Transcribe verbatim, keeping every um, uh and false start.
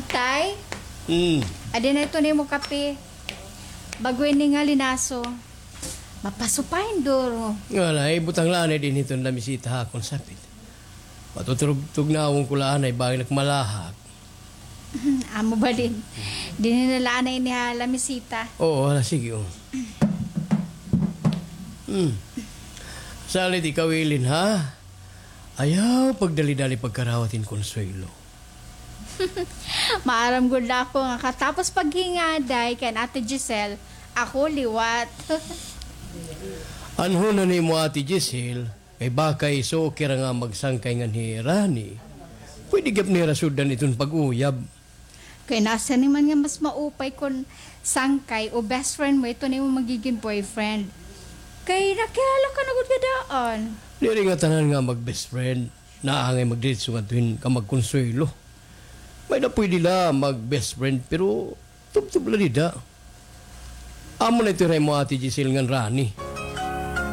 Tay? Hmm. Adi na ito nimo kape. Bag-o ini nga linaso. Mapasupain duro. Nga na, ibutang la anay dinhi iton lamisita ha akon sapit. Patutugnawan ko la anay, bangin ak malahak. Amo ba din? Dinhi na la anay ini ha lamisita. Oo, hala, sige, oh. Hmm. Salit ikaw, Ilin, ha? Ayaw pagdali-dali pagkarawat hin Consuelo. Maaram gud ako nga katapos paghingaday kan Ate Giselle, ako liwat. Anhon na nimo, Ate Giselle, kay baka isuki hira nga magsangkay ngan hi Rani. Pwede gihap nira suddan iton pag-uyab. Kay nasiring man nga mas maupay kon sangkay o best friend mo ito nimo magigin boyfriend. Kay nakilala ka na gud nga daan. Diri ngatanan nga mag-best friend. Naangay magdiretso ngadto hin kamag-Consuelo. May-ada pwede la mag-best friend, pero tubtob la dida. Amo na ito hira imo, Ate Giselle, ngan Rani.